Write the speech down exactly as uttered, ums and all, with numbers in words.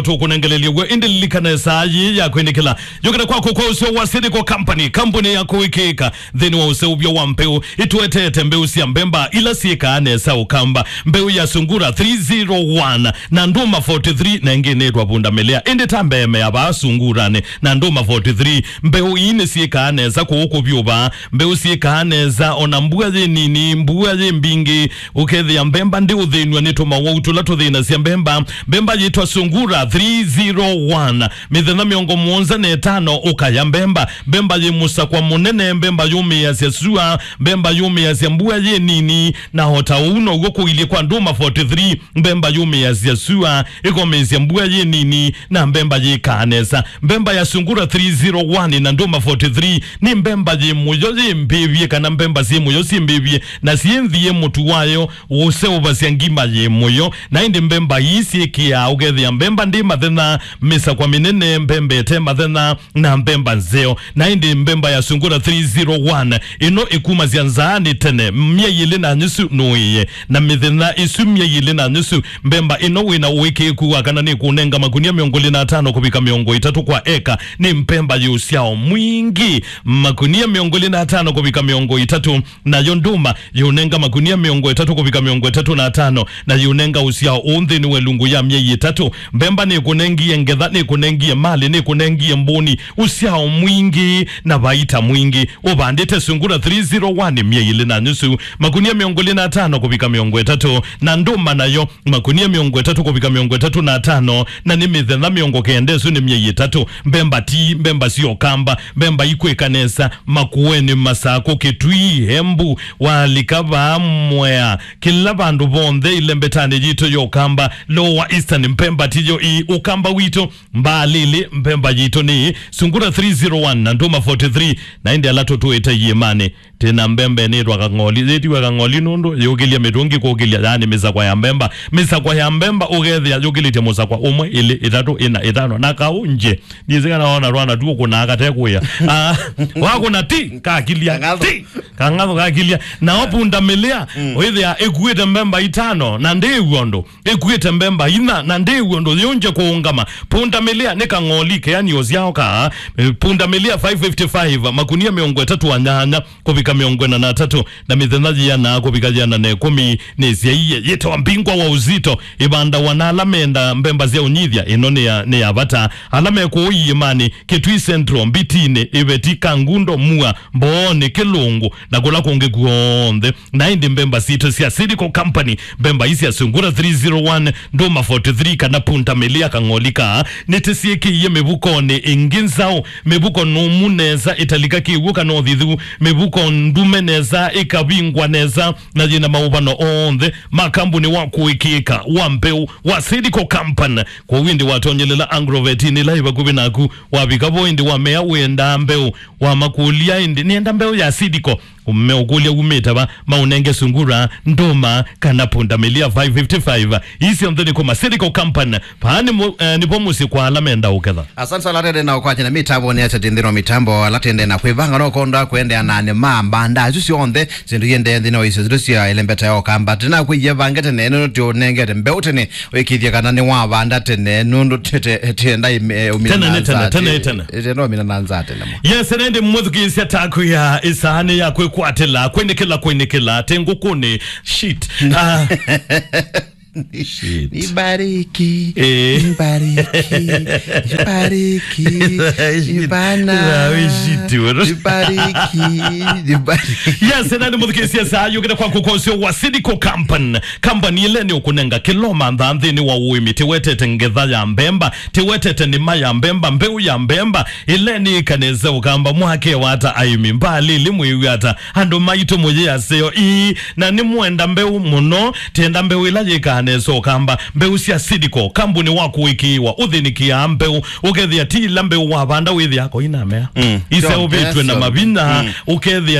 tũkũnengelelye w'o, ĩndĩ lilikana ĩsaa yĩĩ ya kwĩnĩkĩla yũkĩte kwaku kwa ũseo wa Seed Co Company, kambuni ya kũĩkĩĩka nthĩnĩ wa ũseũvyo wa mbeũ. Ĩtũetete mbeũ sya mbemba ila syĩkaa nesa ũkamba, mbeũ ya Sungura three zero one na Nduma forty-three, na ĩngĩ nĩtwa Punda Milia. Ĩndĩ ta mbee mea vaa Sunguranĩ na Nduma forty-three, mbeũ ii nĩsyĩkaa nesa kũũ kũvyũ vaa. Mbeũ syĩkaa nesa ona mbua yĩ nini, mbua yĩ mbingĩ, ũkethĩa mbemba ndĩũthĩnw'a nĩ tũmawau tũla tũthĩnasya mbemba. Mbemba yĩtwa Sungura three zero one, mĩthenya mĩongo mũonza na ĩtano ũkaya mbemba. Mbemba yĩ mũsakwa mũnene, mbemba yũmĩĩasya sua, mbemba yũmĩĩasya mbua yĩ nini, na o ta ũu now'o kũilyĩ kwa Nduma forty-three, mbemba yũmĩĩasya sua, ĩkomĩĩsya mbua yĩ nini, na mbemba yĩkaa nesa. Mbemba ya Sungura three zero one na Nduma forty-three nĩ mbemba yĩ mũyo yĩ mbĩvye, kana mbemba syĩ mũyo syĩ mbĩvye, na syĩ nthĩ yĩ mũtu wayo ũseũvasya ngima yĩ mũyo. Na ĩndĩ mbemba ii syĩkĩaa ũkethĩa mbemba ndĩ mathenya, mĩsakwa mĩnene, mbemba ĩte mathenya, na mbemba nzeo. Na ĩndĩ mbemba ya Sungura three zero one ĩno ĩkumasya nzaanĩ tene, myei ĩlĩ na nyusu nũĩe, na mĩthenya ĩsu myei ĩlĩ na nyusu. Mbemba ĩno wĩna ũĩkĩĩku wa kana nĩkũnenga makunia mĩongo ĩlĩ na atano kũvika mĩongo ĩtatũ kwa eka. Nĩ mbemba yĩ ũsyao mwingĩ, makunia mĩongo ĩlĩ na atano kũvika mĩongo ĩtatũ. Nayo nduma yĩũnenga makunia mĩongo ĩtatũ kũvika mĩongo ĩtatũ na atano, na yĩũnenga ũsyao ũũ nthĩnĩ wa ĩlungu ya myei ĩtatũ. Mbemba nĩkũnengie ngetha, nĩkũnengie malĩ, nĩkũnengie mbũni, ũsyao mwingĩ na vaita mwingĩ. Ũvandĩte Sungura three zero one myei ĩlĩ na nyusu, makunia mĩongo ĩlĩ na atano kũvika mĩongo ĩtatũ, na nduma nayo makunia mĩongo ĩtatũ kũvika mĩongo ĩtatũ na atano, na nĩ mĩthenya mĩongo kenda, ĩsu nĩ myei ĩtatũ. Mbemba ti mbemba sya ũkamba, mbemba ikwĩka nesa Makueni, Masakũ, Kitui, Embu, walika vaa Mwea, kĩla vandũ vonthe ĩlembetanĩ yitũ ya ũkamba, Lower Eastern, mbemba tiyo ii ũkamba witũ. Mbaalĩlĩ, mbemba yitũ nĩ Sungura three zero one na Nduma forty-three, na ĩndĩ ala tũtũĩte iĩmanĩ. Twĩ na mbemba ĩnĩtwa Kang'oli. Yĩtiwe Kang'oli nũndũ yũkĩlya mĩtũngi kũkĩlya, yaani mĩsakwa ya mbemba. Mĩsakwa ya mbemba ũkethĩa yũkĩlĩtye mũsakwa ũmwe, ĩlĩ, ĩtatũ, ĩna, ĩtano, na kaũ nje. Ndiĩsĩ kana wona twana tu ũkũnaa kate kũĩa. Ah, wakũna ti, kakilya, Kang'athũ. Ti, kang'athũ kakilya. Nao punda milia, ũithĩa ĩkuĩte mbemba itano, na ndĩĩw'a ũndũ. Ĩkuĩte mbemba inya, na ndĩĩw'a ũndũ yĩũngye kũũngama. Punda milia nĩ Kang'oli, keani ũsyao kaa. Eh, punda milia five fifty-five, makunia mĩongo ĩtatũ na nyanya kũvika mĩongo ĩna na atatũ, na mĩthenya yĩana kũvika yĩana na ĩkũmi nĩsyaie. Yĩtawa Mbingwa wa Uzito, ĩvandawa na ala menda mbemba sya ũnyithya. Ĩno nĩ ya, nĩ ya vata. Ala me kũũ iĩmanĩ, Kitui Central, Mbitinĩ, Iveti, Kangundo, Mua, Mbooni, Kĩlũngũ, na kũla kũngĩ kw'onthe. Na ĩndĩ mbemba sitũ sya Seed Co Company, mbemba ii sya Sungura three zero one, Nduma forty-three, kana Punda Milia Kang'oli kaa, nĩtĩsyĩkĩie mĩvukonĩ ĩngĩ nzaũ, mĩvuko nũmu nesa ĩtalika kĩw'ũ kana ũthithu, mĩvuko ndume nesa ĩkavingwa nesa, na yĩna maũvano onthe ma kambuni wa kũĩkĩĩka wa mbeũ wa Seed Co Company. Kwoou ĩndĩ watonyelela Agrovet ĩla ĩ vakuvĩ naku, wavika vo ĩndĩ wamea wĩendaa mbeũ, wamakũlya ĩndĩ, "Nĩenda mbeũ ya Seed Co." Meũkũlya umĩte va, maũnenge Sungura, Nduma, kana Punda Milia five fifty-five. Ii syonthe nĩ kuma Seed Co Company. Vaa nĩ mu-, eh, nĩvo mũsyĩ kwa ala menda ũketha. Asante sana, ala tende na ũkwatya na mĩtambo nĩ atete nthĩnĩ wa mĩtambo, ala tende na kwĩvanga no konda kũendeea na nĩ mamba nda isu syonthe, syĩndũ iendee nthĩnĩ wa isio zitũ sya ĩlembeta ya ũkamba. Tena kwĩie vange tene, nũndũ tũnengete mbeũ tene, wĩkĩthye kana nĩ wavanda tene, nũndũ tete, tenda ime-, umina Tene na nĩ tene, nza tene te-, nĩ tene. Tenda umina na nza tene mo. Yes, nende mwĩthukĩĩsya taku ya ĩsaanĩ ya kwĩkwatĩla, kwĩnĩkĩla, kwĩnĩkĩla, te ngũkũnĩ, shit. Ah. Shit. Nibariki. Eh. Nibariki. Nibariki. Shit. Bana. Ah, we shit, bro. Nibariki. Nibariki. Yes, nani mũthukĩĩsya saa yũkĩte kwa kũkosyo wa Seed Co Company. Company ĩla nĩ ũkũnenga kĩla ũmanthaa nthĩnĩ wa ũĩmi. Tĩwetete ngetha ya mbemba, tĩwetete nĩma ya mbemba, mbeũ ya mbemba, ĩla nĩ ĩkanĩse ũkamba mwake wata aĩmi. Mbaalĩlĩ mwĩw'a ata, andũ maitũ mũyĩ aseo ii, na nĩ mwenda mbeũ mũno, tenda mbeũ ĩla yĩkaa nesa ũkamba, mbeũ sya Seed Co, kambuni wa kũĩkĩĩwa, ũthĩnĩkĩaa mbeũ, ũkethĩa ti ila mbeũ wavanda wĩthĩa koinamea. Mm. Iseũvĩtw'e na mavinya, mm, ũkethĩa